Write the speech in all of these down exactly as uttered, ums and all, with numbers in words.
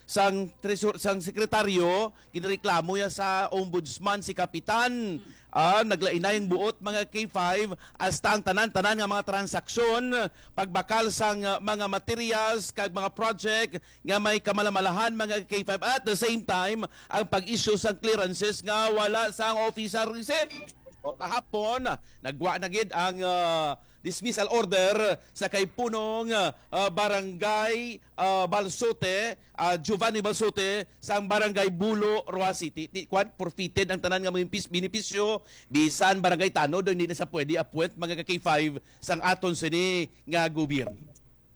sang tresor-, sang sekretaryo, ginreklamo niya sa ombudsman si Kapitan. Ah, naglainay ang buot, mga K five, hasta ang tanan-tanan nga mga transaksyon, pagbakal sang, ah, mga materials kag mga project nga may kamalamalahan, mga K five. At the same time, ang pag-issue sang clearances nga wala sang official receipt. O, kahapon, nagwa na gid ang, ah, dismissal order sa kay punong, ah, barangay, ah, Balsote, ah, Giovanni Balsote, sang barangay Bulo, Roxas City. Ti, kwan, forfeited ang tanan nga mga impis-, benepisyo, bisan barangay tanod, hindi na sa pwede appoint, mga ka K five, sang aton sini nga gobyerno.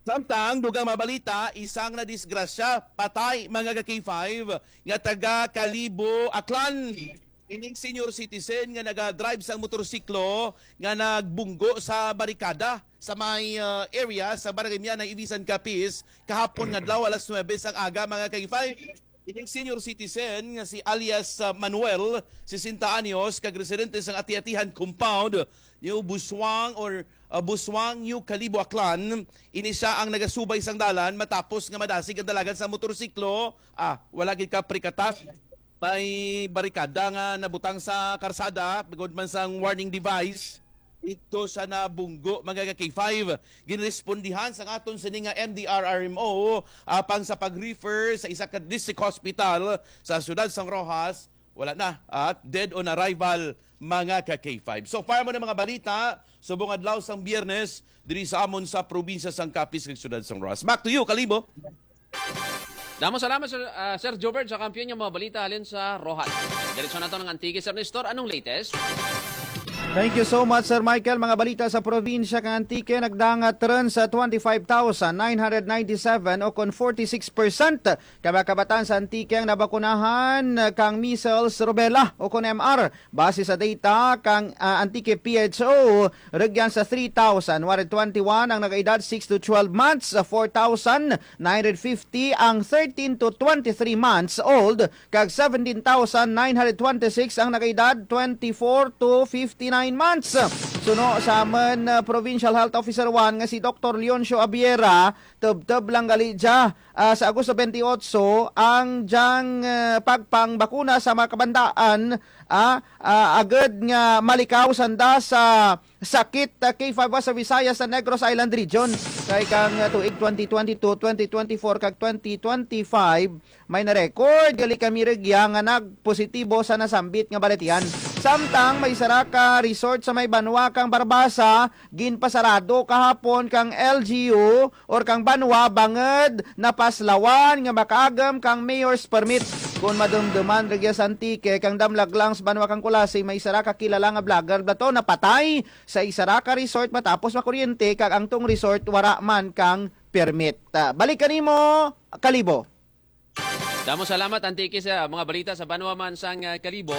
Samtang, dugang mabalita, isang nadisgrasya, patay, mga ka K five, nga taga Kalibo, Aklan. Ining senior citizen nga naga-drive sang motorsiklo nga nagbunggo sa barikada sa may, uh, area sa Barangay Mianay, Ibisan, Capiz, kahapon nga adlaw alas nuebe sang aga, mga ka K five. Ining senior citizen nga si alias, uh, Manuel, sesenta anyos, kag residente sang Ati-Atihan compound, New Busuang or, uh, Busuang, New Kalibo, Aklan. Ini sia ang nagasubay sang dalan matapos nga madasig ang dalagan sa motorsiklo. Ah, wala gid ka prikata. May barikada nga nabutang sa karsada, bigod man sang warning device. Dito sa nabunggo, mga ka K five. Ginrespondihan sang aton sini nga M D R R M O, apang sa pag-refer sa isa ka district hospital sa siyudad sang Roxas, wala na. At dead on arrival, mga ka K five. So far mo na mga balita, subong adlaw sang Biyernes, diri sa amon sa probinsya sang Capiz kag siyudad sang Roxas. Back to you, Kalibo. Damo salamat, Sir, ah, Sir Jobert, sa kampiyon nga mga balita halin sa Roxas. Diretso na to ng Antique, Sir Nestor. Anong latest? Thank you so much, Sir Michael. Mga balita sa probinsya kang Antique, nagdangat ron sa twenty-five thousand nine hundred ninety-seven o kon forty-six percent ka mga kabataan sa Antique ang nabakunahan kang measles, rubella o kon M R. Base sa data kang, ah, Antique P H O, rugyan sa three thousand one hundred twenty-one ang nag-edad six to twelve months, four thousand nine hundred fifty ang thirteen to twenty-three months old, kag seventeen thousand nine hundred twenty-six ang nag-edad twenty-four to fifty-nine months. Suno sa amon, uh, Provincial Health Officer one nga si Doktor Leoncio Abiera, tubtob lang gali dya, ah, sa Agosto twenty-eight ang dyang, uh, pagpangbakuna sa mga kabandaan, ah, ah, agud nga malikaw sanda sa sakit, ah, K five sa Visayas sa Negros Island Region. Kay kang, ah, tuig twenty twenty-two, twenty twenty-four kag twenty twenty-five, may na-record gali kami rugya nga nagpositibo sa nasambit nga balatian. Samtang may sara ka resort sa may banwa kang Barbaza, ginpasarado kahapon kang L G U or kang banwa bangod napaslawan nga makaagom kang mayor's permit. Kon madumduman rugya sa Antique, kang damlag lang sa banwa kang Culasi, may sara ka kilala nga vlogger bato napatay sa isara ka resort matapos makuryente kag ang tong resort wara man kang permit. Ah, balik kanimo, Kalibo. Damo salamat, Antique, sa mga balita sa banwa man sang, ah, Kalibo.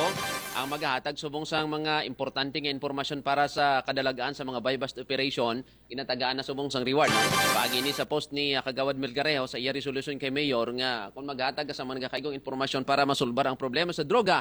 Ang magahatag subong sang mga importante nga impormasyon para sa kadalagaan sa mga buy-bust operation, ginatagaan na subong sang reward, no? Paagi ni sa post ni, ah, Kagawad Melgarejo sa iya resolution kay Mayor nga kung maghatag ka sa mga nagakaigong impormasyon para masulbar ang problema sa droga,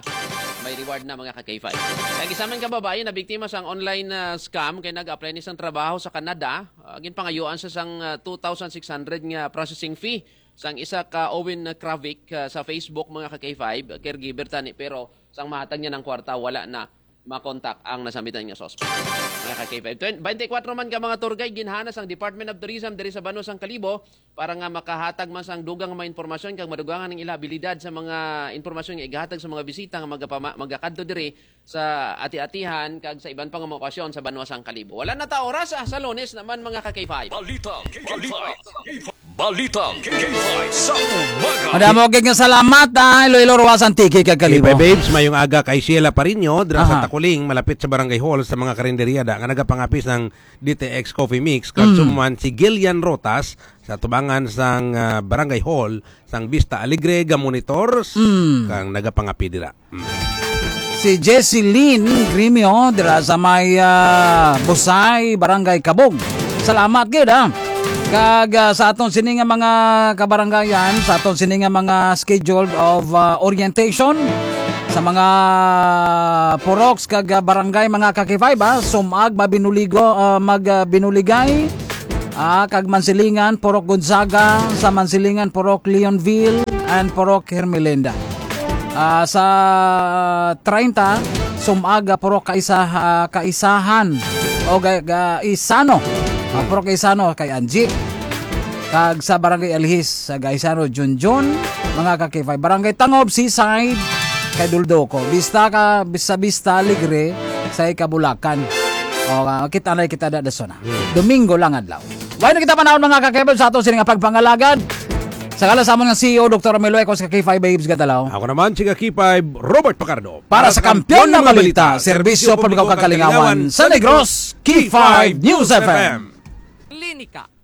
may reward na, mga ka K five. Kag isa man ka babayi na biktima sang online, ah, scam kay nag-apply ni sang trabaho sa Canada, ah, ginpangayuan sa sang, ah, two thousand six hundred nga processing fee sang isa ka Owen Kravic, ah, sa Facebook, mga ka K five, caregiver tani, pero sang mahatag niya ng kwarta, wala na makontak ang nasambitan nga suspect. Mga ka K five, twen-, twenty-four man ka mga tour guide ginhana sang Department of Tourism diri sa banwa sang Kalibo para nga makahatag man sang dugang nga mga impormasyon kag madugangan ang ila abilidad sa mga impormasyon nga igahatag sa mga bisita nga magapama-, magakadto diri sa Ati-Atihan kag sa iban pa nga mga okasyon sa banwa sang Kalibo. Wala na ta oras, ah, sa Lunes naman, mga ka K five. Balita K five. Balita K five sa umaga. Madamo gid nga salamat, ah, Iloilo, Roxas, Antique kag Kalibo. K five Babes, mayong aga kay Sheila Parinyo, dira sa Aha. Takuling, malapit sa Barangay Hall, sa mga karinderya da, nga nagapangapis ng D T X Coffee Mix, kag Mm. sumuman si Gillian Rotas, sa tubangan sang, ah, Barangay Hall, sang Vista Alegre, ga monitor, Mm. kang nagapangapi dira. Mm. Si Jesseline Grimio, dira sa may, ah, Busay, Barangay Kabog. Salamat gid, ah. Kag, ah, sa aton sini nga mga kabarangayan, sa aton sini nga mga scheduled of, ah, orientation, sa mga purok kag, ah, barangay, mga ka K five, ah, Sumag, Mabinuligo, ah, mag, ah, Binuligay, ah, kag Mansilingan, Purok Gonzaga, sa Mansilingan, Purok Leonville, and Purok Hermelinda. Ah, sa treinta, Sumaga, Purok Kaisa, ah, Kaisahan o ga, ga, Isano. Ah, Purok Isano kay Angie. Kag sa Barangay Alhis, sa Gaisano, Junjun, mga ka-K five. Barangay Tangob, Seaside, kay Duldoco. Bista ka, sa Bista Alegre, sa Ikabulakan. O, ah, kita na kita da, da, sona. Domingo lang adlaw. Wala na kita panahon, mga ka-K five, sa ato sini nga pagpangalagad. Sa ngalan sa amon nga C E O, Doktor Romel Huecos, ka K five Babes Gatalaw. Ako naman, si ka K five, Robert Pacardo. Para sa Kampiyon nga Balita, Serbisyo Publiko kag Kalingawan sa Negros, K five News F M. Klinika